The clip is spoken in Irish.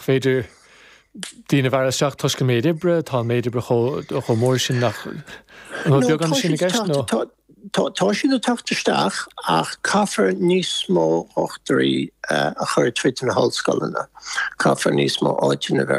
Féidir daoine a mhealladh isteach toisc an méid oibre, tá an méid oibre chomh mór sin nach an bhfuil beagán sin i gceist nó? Tá siad ag teacht isteach ach caithfear níos mó dhochtúirí a chur tríd na hollscoileanna. Caithfear níos mó áiteanna a bheith ar.